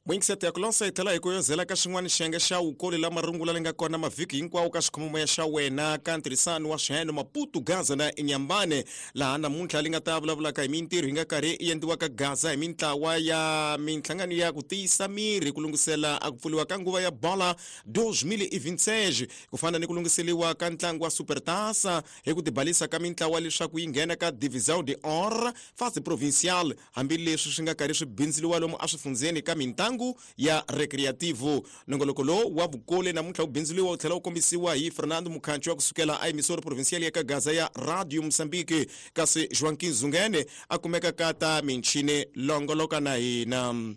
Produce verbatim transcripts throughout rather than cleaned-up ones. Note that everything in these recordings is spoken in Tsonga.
Mwingisete ya ku lonsa hi tlhela hi ku yozela ka xin'wana xiyenge xa wukoli la marungula leyi nga kona mavhiki hinkwawo ka xikhomomoya xa wena ka ntirhisano wa swiheno Maputo Gaza na Inyambane, laha namuntlha li nga ta vulavulaka hi mintirho yi nga karhi yi endliwa ka Gaza hi mintlawa ya minhlangano ya ku tiyisa miri ku lunghisela a ku pfuriwa ka nguva ya bola twenty twenty-six, ku fana ni ku lunghiseriwa ka ntlangu wa Supertaça hi ku tibalisa ka mintlawa leswaku yi nghena ka Divisão de Or fase provincial, hambileswi swi nga karhi swi bindziliwa lomu eswifundzeni ka mintlangu ya recreativo. Nongoloko lowu wa vukole namuntlha wu bindzuriwa wu tlhela wu kombisiwa hi Fernando Mukhancho wa kusukela a emisoro provincial ya ka Gaza ya Radio Mozambique, kasi Joaquim Zungene a kumeka ka ta minchini longoloka na hina.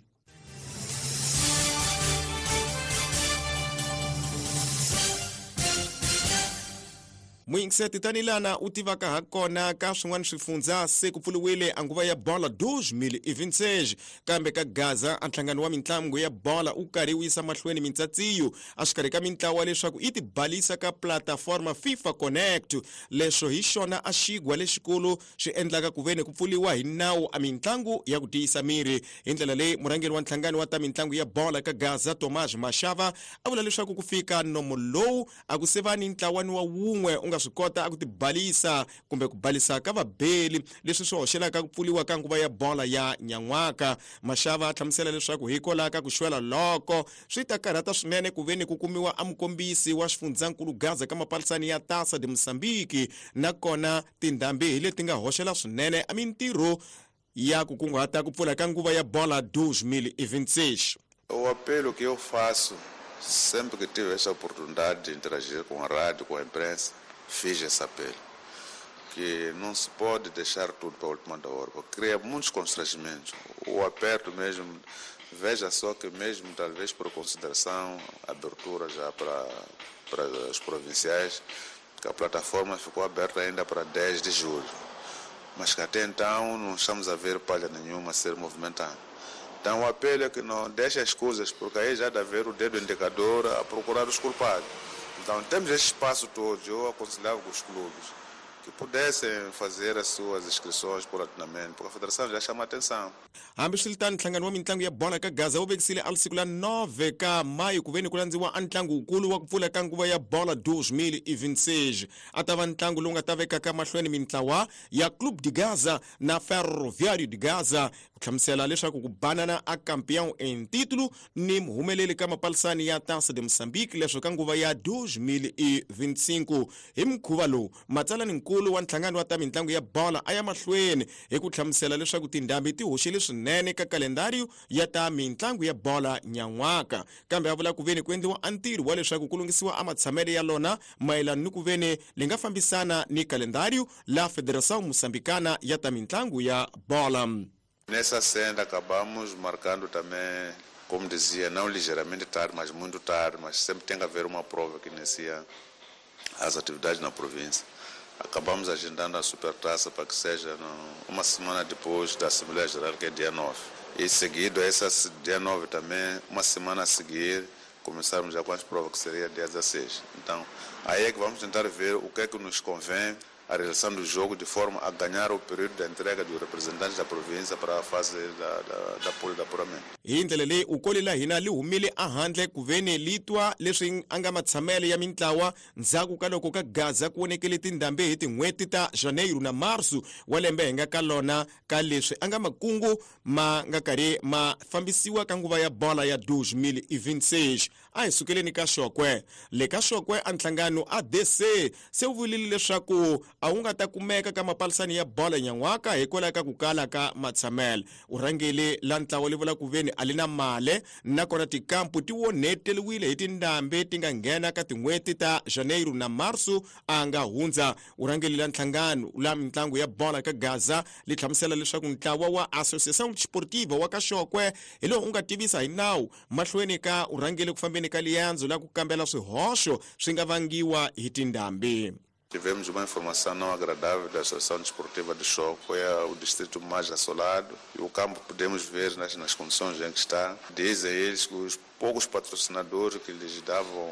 Mwingiseti tanilana u tivaka ha kona ka swin'wana swifundza se ku pfuriwile a nguva ya bola twenty twenty-six, kambe ka Gaza a nhlangano wa mintlangu ya bola u karhi wu yisa mahlweni mintsatsiyo exikarhi ka mintlawa leswaku yi tibalisa ka plataforma FIFA Connect. Leswo hi xona a xigwa lexikulu xi endlaka ku veni ku pfuriwa hi nawu a mintlangu ya ku tiyisa miri. Hi ndlela leyi murhangeri wa nhlangano wa ta mintlangu ya bola ka Gaza Tomás Mashava a vula leswaku ku fika nomo lowu a ku se va ni ntlawani wa wun'we u nga swi kota a ku tibalisa kumbe ku balisa ka vabeli, leswi swi hoxelaka ku pfuriwa ka nguva ya bola ya nyan'waka. Mashava a hlamusela leswaku hikwalaho ka ku xwela loko swi ta karhata swinene ku veni ku kumiwa a mukombisi wa xifundzankulu Gaza ka mapalisani ya Taça de Moçambique, nakona tindhambi hi leti nga hoxela swinene a mintirho ya ku kunguhata ku pfula ka nguva ya bola twenty twenty-six. O apelo que eu faço sempre que tive essa oportunidade de interagir com a rádio, com a imprensa, fiz esse apelo, que não se pode deixar tudo para a última hora, porque cria muitos constrangimentos. O aperto mesmo, veja só que mesmo talvez por consideração, abertura já para, para os provinciais, que a plataforma ficou aberta ainda para dez de julho, mas que até então não estamos a ver palha nenhuma ser movimentada. Então o apelo é que não deixe as coisas, porque aí já dá a ver o dedo indicador a procurar os culpados. Então temos esse espaço todo, eu aconselhava os clubes que pudessem fazer as suas inscrições paulatinamente, porque a federação já chama a atenção. Hambiswiritano, nhlangano wa mintlangu ya bola ka Gaza wu vekisile a siku la nove ka mayi ku veni ku landziwa a ntlangu wukulu wa ku pfula ka nguva ya bola twenty twenty-six. A ta va ntlangu lowu nga ta vekaka mahlweni mintlawa ya Clube de Gaza na Ferroviário de Gaza, ku hlamusela leswaku ku banana a campeão em título ni muhumeleli ka mapalisani ya Taça de Moçambique leswo ka nguva ya twenty twenty-five. Hi mukhuva lowu matsalaninkulu wa nhlangano wa ta mintlangu ya bola a ya mahlweni hi ku hlamusela leswaku tindhambi ti hoxile swinene ka kalendário ya ta mintlangu ya bola nyan'waka, kambe a vula ku veni ku endliwa a ntirho wa leswaku ku lunghisiwa a matshamelo ya lona mayelana ni ku veni li nga fambisana ni kalendário la Federação Moçambicana ya ta mintlangu ya bola. Nessa senda acabamos marcando também, como dizia, não ligeiramente tarde, mas muito tarde, mas sempre tem que haver uma prova que inicia as atividades na província. Acabamos agendando a Supertaça para que seja no, uma semana depois da Assembleia Geral, que é dia nove. E seguido, essa dia nove também, uma semana a seguir, começarmos já com as provas, que seria dia dezesseis. Então, aí é que vamos tentar ver o que é que nos convém a realização do jogo, de forma a ganhar o período da entrega dos representantes da província para a fase da, da, da pool de apuramento. Hi ndlela leyi ukoli la hina li humile ehandle ku veni li twa leswi a nga matshamelo ya mintlawa ndzhaku ka loko ka Gaza ku vonekele tindhambi hi tin'hweti ta Janeiro na Marso wa lembe hi nga ka lona, ka leswi a nga makungu ma nga karhi ma fambisiwa ka nguva ya bola ya twenty twenty-six. A hi sukeleni ka Xokwe. Le ka Xokwe a nhlangano A D C se wu vulile leswaku a wu nga ta kumeka ka mapalisani ya bola nyan'waka hikwalaho ka ku kala ka matshamelo. U rhangele la ntlawa li vula ku veni a li na male, nakona tikampu ti onheteriwile hi tindhambi ti nga nghena ka tin'hweti ta Janeiro na Marso a nga hundza. U rhangele la nhlangano la mintlangu ya bola ka Gaza li hlamusela leswaku ntlawa wa Associação Desportiva wa ka Xokwe hi lowu u nga tivisa hi nawu mahlweni ka u rhangele ku fambeni ka liyandzo la ku kambela swihoxo swi nga vangiwa hi tindhambi. Tivemos uma informação não agradável da Associação Desportiva de Chókwè, é o distrito mais assolado, e o campo podemos ver nas, nas condições em que está. Dizem eles que os poucos patrocinadores que lhes davam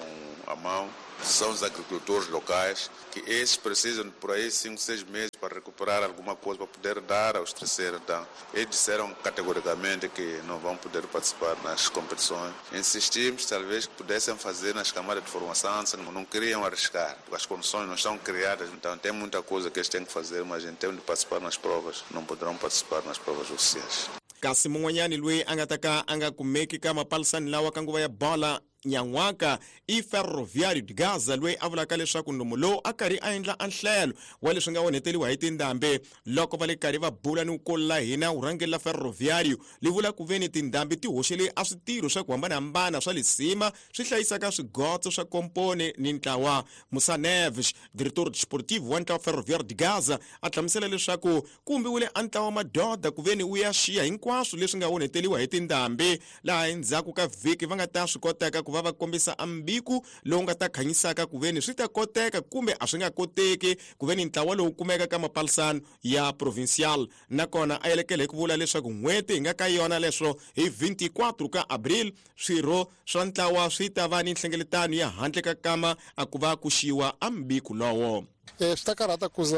a mão São os agricultores locais, que esses precisam de por aí cinco, seis meses para recuperar alguma coisa, para poder dar aos terceiros. Então, eles disseram categoricamente que não vão poder participar nas competições. Insistimos, talvez, que pudessem fazer nas camadas de formação, não queriam arriscar, porque as condições não estão criadas. Então, tem muita coisa que eles têm que fazer, mas em termos de participar nas provas, não poderão participar nas provas oficiais. Kasi mun'wanyani loyi a nga ta ka a nga kumeki ka mapalisani lawa ka nguva ya bola nyan'waka i Ferroviário de Gaza loyi a vulaka leswaku nomu lowu a karhi a endla anhlelo wa leswi nga onheteliwa hi tindhambi loko va le karhi va bula ni wukulu la hina vurhangeri la Ferroviário li vula ku ve ni tindhambi ti hoxele a switirho swa ku hambanahambana swa lisima swi hlayisaka swigotso swa komponi ni ntlawa. Musa Neves, diretor desportivo wa ntlawa Ferroviário de Gaza, a hlamusela leswaku ku humbiwile a ntlawa madoda ku ve ni wu ya xiya hinkwaswo leswi nga onheteliwa hi tindhambi laha endzhaku ka vhiki va nga ta swi koteka ku va va kombisa ambiku lowu nga ta khanyisaka ku ve ni swi ta koteka kumbe a swi nga koteki ku ve ni ntlawa lowu kumeka ka mapalisano ya provincial. Nakona a yelekele hi ku vula leswaku n'hweti hi nga ka yona leswo hi vinte e quatro ka abril swirho swa ntlawa swi ta va ni nhlengeletano ya handle ka kama a ku va ku xiwa ambiku lowo. Swi ta karhata ku za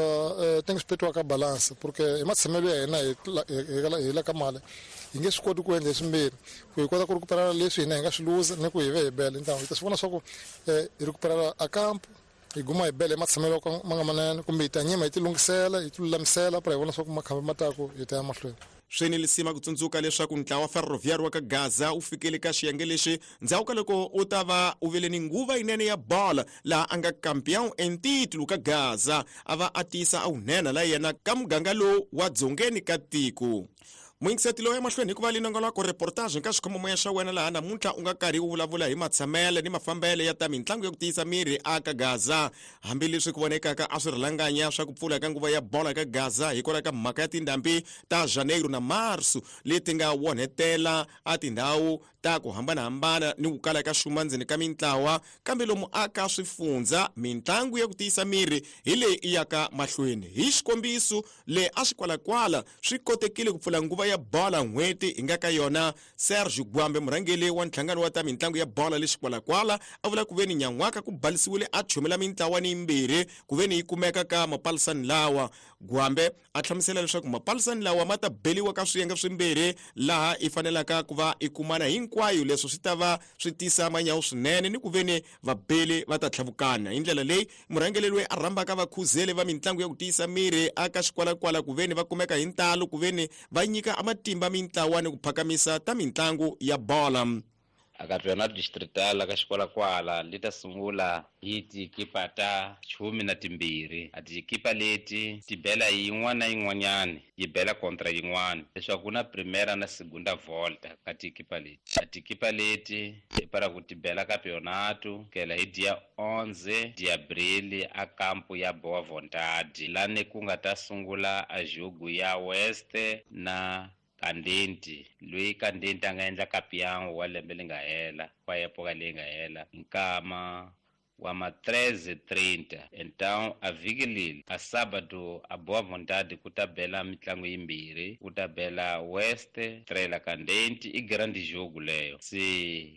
tem que respetar ka balança, porque hi matshamelo ya hina hi la ka mali hi nge swi koti ku endla swimbirhi, ku hi kota ku recuperar leswi hina hi nga swi luza ni ku hi ve hi bela. Então hi ta swi vona swa ku hi recuperar a campo hi guma hi bela hi matshamelo ma nga manene, kumbe hi ta nyima hi ti lunghisela hi ti lulamisela para hi vona swa ku makhamba ma taku hi ta ya mahlweni. Swi ni lisima ku tsundzuka leswaku ntlawa wa Ferroviário wa ka Gaza wu fikele ka xiyenge lexi ndzhaku ka loko u ta va u vile ni nguva yinene ya bola laha a nga campeão em título ka Gaza a va a tiyisa a wunene la yena ka muganga lowu wa dzongeni ka tiko. Muyingiseti lowu emahlweni hikuva linongoloko reportage ka xikhomomoya xa wena laha namuntlha u nga karhi u vulavula hi matshamele ni mafambele ya ta mitlangu ya ku tiyisa miri aka Gaza. Hambileswi ku vonekaka a swi rilanganya swa ku pfula ka nguva ya bola ka Gaza hikwalaho ka mhaka ya tindhambi ta Janeiro na Marso leti nga onhetela a tindhawu ta ku hambanahambana ni ku kala ka xuma ndzeni ka mintlawa, kambe lomu aka swifundza mitlangu ya ku tiyisa miri hi leyi i yaka mahlweni. Hi xikombiso le a xikwalakwala swi kotekile ku pfula nguva ya bola n'hweti hi nga ka yona. Sergio Gwambe, murhangeri wa nhlangano wa ta mitlangu ya bola le xikwalakwala, a vula ku ve ni nyan'waka ku balisiwile a chumela mintlawa ni yimbirhi ku ve ni yi kumeka ka mapalisani lawa. Gwambe a hlamusela leswaku mapalisani lawa ma ta beliwa ka swiyenge swimbirhi laha i fanelaka ku va i kumana hinkwayo, leswo swi ta va swi tisa manyawu swinene ni ku ve ni vabeli va ta tlhavukana. Hi ndlela leyi murhangeri loyi a rhambaka vakhuzeli va mitlangu ya ku tiyisa miri aka xikwalakwala ku ve ni va kumeka hi ntalo ku ve ni va nyika matimba mintlawa ni ku phakamisa ta mitlangu ya bola. A campeonato distrital ka xikwalakwala li ta sungula hi tikipa ta chumi na timbirhi. A tikipa leti ti bela yin'wana na yin'wanyani yi bela kontra yin'wana, leswaku ku na primera na segunda volta ka tikipa leti. A tikipa leti hi para ku ti bela campeonato kela hi dia onze de abril a campo ya Boa Vontade, lani ku nga ta sungula a jogo ya West na Kandenti, loyi Kandenti a nga endla campeão wa lembe leri nga hela, wa epoka leyi nga hela nkama wa ma treze trinta. Então a vhiki leri a sábado a Boa Vontade ku ta bela mitlangu yimbirhi, ku ta bela West Trela Kandenti, i grande jogo leyo. Se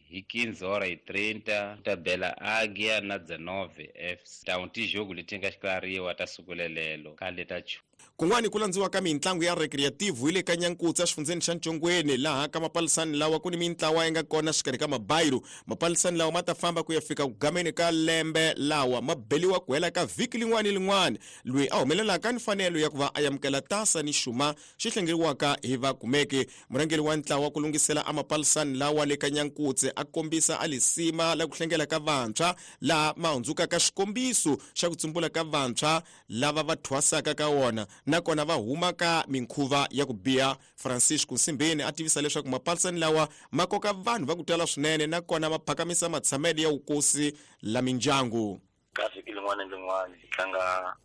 hi quinze hora y trinta ku ta bela Águia na dezenove F C. Então ti jogo leti nga xikarhiwa ta siku lelelo khale ta chu. Kun'wani ku landziwa ka mitlangu ya recreative hi le ka Nyankutsa exifundzeni xa Ntshongweni, laha ka mapalisani lawa ku ni mintlawa yi nga kona xikarhi ka mabayiro. Mapalisani lawa ma ta famba ku ya fika ku gameni ka lembe lawa ma beliwa ku hela ka vhiki lin'wana ni lin'wana. Loyi a humelelaka ni mfanelo ya ku va a amukela tasa ni xuma xi hlengeriwaka hi vakumeki. Murhangeri wa ntlawa ku lunghisela a mapalisani lawa le ka Nyankutse a kombisa a lisima la ku hlengela ka vantshwa laha ma hundzukaka xikombiso xa ku tsumbula ka vantshwa lava va thwasaka ka wona, nakona va huma ka minkhuva ya ku biha. Francisco Nsimbeni a tivisa leswaku mapalisani lawa ma koka vanhu va ku tala swinene nakona ma phakamisa matshamelo ya vukosi la mindyangu. Ka vhiki lin'wana ni lin'wana hi tlanga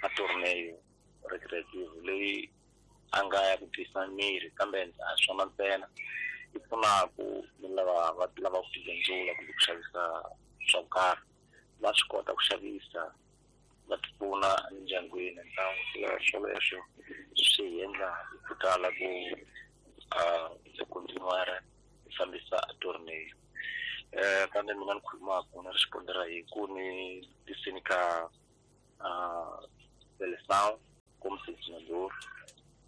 a torneo recreative leyi a nga ya ku tiyisa miri, kambe a swona ntsena yi pfunaku ni lava va lava ku tibindzula kumbe ku xavisa swa ku karhi, va swi kota ku xavisa va ti pfuna endyangwini. Então swoleswo swi hi endla hi ku tala ku a continuar hi fambisa torneo. Kambe mina ni khulumaka ni respondera hi ku ni tisini ka seleção como selecionador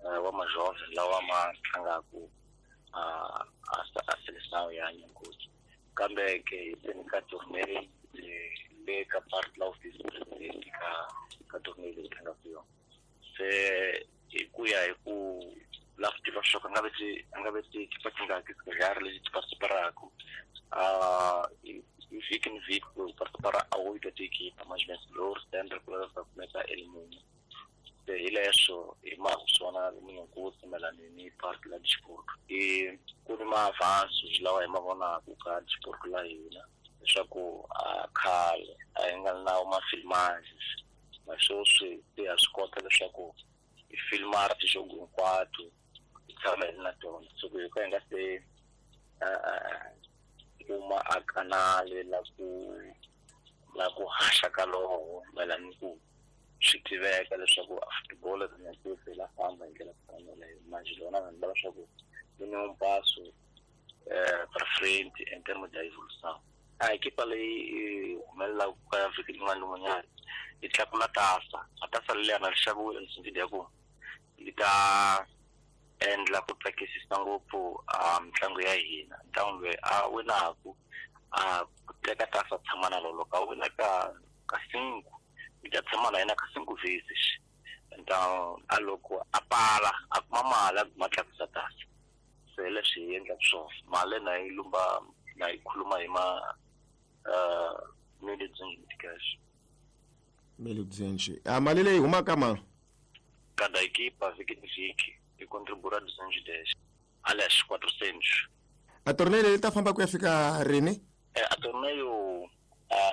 wa majovem lawa ma tlangaka a a seleção ya Nyankoti. Kambe ke hi teni ka torneio le ka part la office president ka ka torneio leyi tlangaka yona. Se hi ku ya hi ku la ku tiva swa ku nga ve ti nga ve ti kipa ti nga ki swiharhi lexi ti participaraka hi vhiki ni vhiki ku participara a oito tiequipa mas vencedor sempre ku va kumeka elimune. Se hi leswo hi mhaka swona Munyankoti mayelana ni part la disport. I ku ni ma-avanços lawa hi ma vonaka ka disport la hina leswaku a khale a hi nga na ma-filmagens ma sweswi se ha swi kota leswaku hi filmara tijogo hinkwato hi tshama hi ri na tona. So ku hi ka hi nga se kuma a kanale la ku la ku haxa ka loho mayelana ni ku swi tiveka leswaku football Nyankoti la famba hi ndlela ku fana leyo. Manjhe lona vanhu va leswaku yi ni um passo para frente em termos de evolução. A equipa leyi humelelaka ka vhiki rin'wana ni rin'wanyana yi tlakula tasa. A tasa leriya na ri xaviwile ni sindzi ya ku yi ta endla ku tsakisisa ngopfu a mitlangu ya hina. Ntlangu loyi a winaku a teka tasa tshama na lolo ka wina ka ka cinco yi ta tshama na yena ka cinco vezes. Então a loko a pala a kuma mali a kuma tlakusa tasa. Se leswi hi endlaka swona mali na yi lumba na yi khuluma hi ma mil e duzentos cash. Mil e duzentos. A mali leyi humaka ma? Cada equipa vhiki ni vhiki yi contribua duzentos e dez. Aliás, quatrocentos. A torneio leyi ta famba ku ya fika rini? Eh, a torneio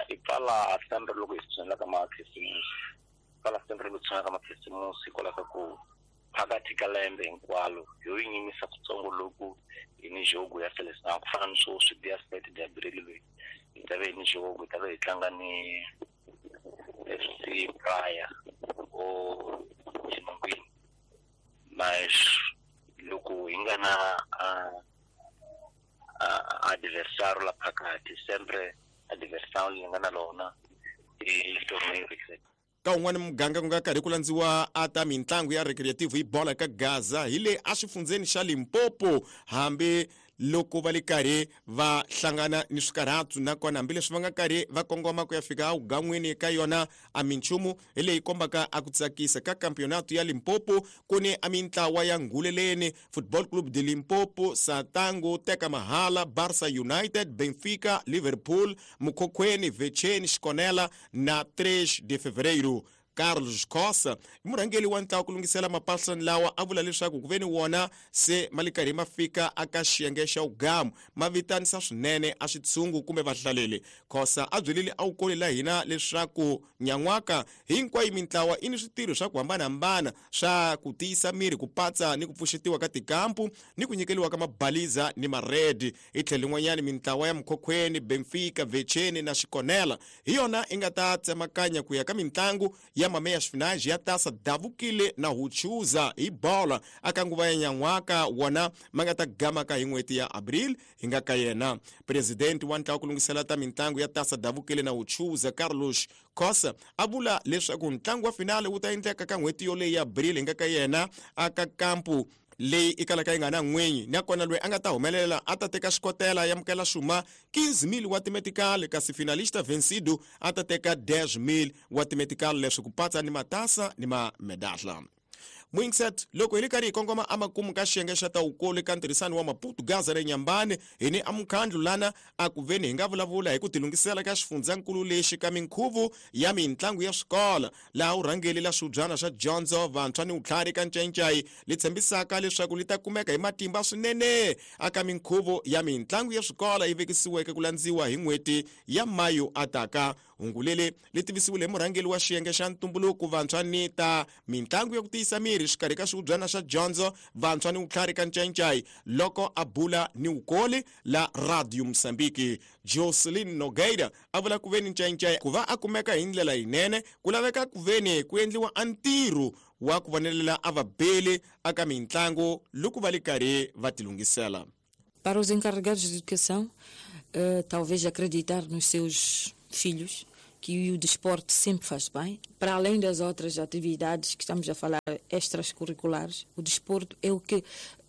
yi pfala sempre loko hi tshinela ka makhisimusi. Pfala sempre loko hi tshinela ka makhisimusi hikwalaho ka ku phakathi ka lembe hinkwalo yo yi nyimisa kutsongo loku hi ni jogo ya seleção ku fana ni sweswi dia sete de abril leyi hi ta ve hi ni jogo hi ta ve hi tlanga ni F C Praia o xinungwini. Mas loko hi nga na adversário la phakathi sempre adversário leyi nga na lona i torneio. Ka un'wana muganga ku nga karhi ku landziwa a ta mitlangu ya recreative hi bola ka Gaza hi le exifundzeni xa Limpopo hambi loko va le karhi va hlangana ni swikarhatu nakona hambileswi va nga karhi va kongoma ku ya fika awugan'wini ka yona a minchumu hi leyi kombaka a ku tsakisa ka campeonato ya Limpopo ku ni a mintlawa ya Nguleleni Football Club de Limpopo, Satango, Teka Mahala, Barca United, Benfica, Liverpool, Mukhokhweni, Vecheni, Xikonela na três de Fevereiro. Carlos Costa i murhangeri wa ntlawa ku lunghisela mapasani lawa a vula leswaku ku ve ni wona se ma le karhi ma fika aka xiyenge xa wugamu ma vitanisa swinene a switshungu kumbe vahlaleli. Khosa a byelile a wukoli la hina leswaku nyan'waka hinkwayo mintlawa i ni switirho swa ku hambanahambana swa ku tiyisa miri ku patsa ni ku pfuxetiwa ka tikampu ni ku nyikeliwa ka mabaliza ni maredi. Hi tlhelo rin'wanyana mintlawa ya Mukhokhweni, Benfica, Vecheni na Xikonela hi yona i nga ta tsemakanya ku ya ka mintlangu ya meias finais ya taça davukile na huchuza hi bola aka nguva ya nyan'waka wona ma nga ta gamaka hi n'hweti ya abril hi nga ka yena. Presidente wa ntlawa ku lunghisela ta mintlangu ya taça davukile na huchuza Carlos Costa a vula leswaku ntlangu wa finale wu ta endleka ka n'hweti yoleyi ya abril hi nga ka yena aka kampu leyi i kalaka yi nga na n'winyi nakona loyi a nga ta humelela a ta teka xikotela ya mukela xuma quinze mil wa timetikali kasi finalista vencido a ta teka dez mil wa timetikali leswi ku patsa ni matasa ni mamedahla. Mwingset loko hi le karhi hi kongoma amakumu ka xiyenge xa tawukulu ka ntirhisano wa Maputo Gaza re Nyambane hi ni amukhandlu lana a ku veni hi nga vulavula hi ku tilunghisela ka xifundzankulu lexi ka minkhuvo ya mintlangu ya swikolo laha urhangeli la swibyana swa dyondzo vantshwa ni vutlhari ka Ncayincai li tshembisaka leswaku li ta kumeka hi matimba swinene aka minkhuvo ya mintlangu ya swikolo yi vekisiweke ku landziwa hi n'hweti ya Mayu ataka. Hungu leri li tivisiwile hi murhangeri wa xiyenge xa ntumbuluko vantshwa ni ta mintlangu ya ku tiyisa miri xikarhi ka swihubyana swa dyondzo vantshwa ni vutlhari ka Ncayincai loko a bula ni wukoli la Radio Mozambique. Jocelyn Nogueira a vula ku veni Ncayincai ku va a kumeka hi ndlela yinene ku laveka ku veni ku endliwa a ntirho wa ku vonelela a vabeli aka mintlangu loko va le karhi va tilunghisela. Para os encarregados de educação, uh, talvez acreditar nos seus filhos, que o desporto sempre faz bem. Para além das outras atividades que estamos a falar, extracurriculares, o desporto é o que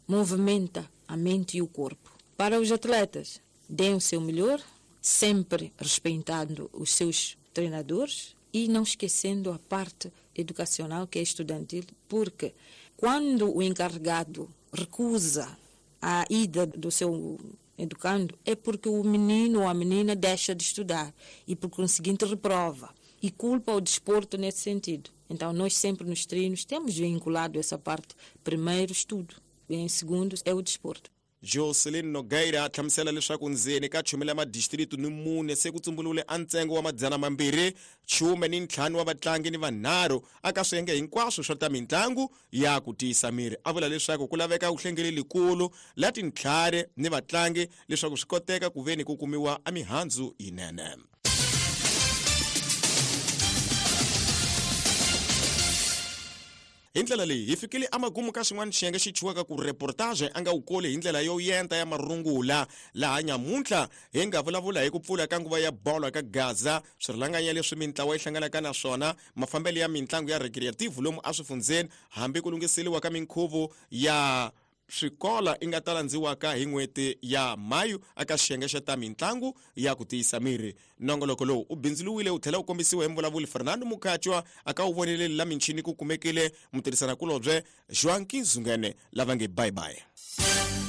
movimenta a mente e o corpo. Para os atletas, deem o seu melhor, sempre respeitando os seus treinadores e não esquecendo a parte educacional, que é estudantil, porque quando o encarregado recusa a ida do seu educando, é porque o menino ou a menina deixa de estudar e, por conseguinte, reprova e culpa o desporto nesse sentido. Então, nós sempre nos treinos temos vinculado essa parte. Primeiro, estudo. Em segundo, é o desporto. Jocelyn Nogueira a hlamusela leswaku ndzeni ka chumi la madistritu ni mune se ku tsumbuluwile a ntsengo wa madzana mambirhi chume ni ntlhanu wa vatlangi ni vanharhu aka swiyenge hinkwaswo swa ta mitlangu ya ku tiyisa miri. A vula leswaku ku laveka vuhlengeli likulu la tintlhari ni vatlangi leswaku swi koteka ku veni ku kumiwa a mihandzu yinene. Hi ndlela leyi hi fikile amagumu ka xin'wana xiyenge xi chiwaka ku reportage a nga wu koli hi ndlela yo yenta ya marungula. Laha nyamuntlha hi nga vulavula hi ku pfula ka nguva ya bolo ka Gaza, swirhalanganya leswi mintlawa yi hlanganaka na swona, mafambelo ya mitlangu ya recreative lomu eswifundzeni, hambi ku lunghiseriwa ka minkhuvo ya swikola i nga ta landziwaka hi n'hweti ya Mayu aka xiyenge xa ta mitlangu ya ku tiyisa miri. Nongoloko lowu u bindzuluwile wu tlhela wu kombisiwa hi mvulavuli Fernando Mukhatshwa aka wu voneleli la michini ku kumekile mutirhisanakulobye Joaquim Zungene lava nge bye bye.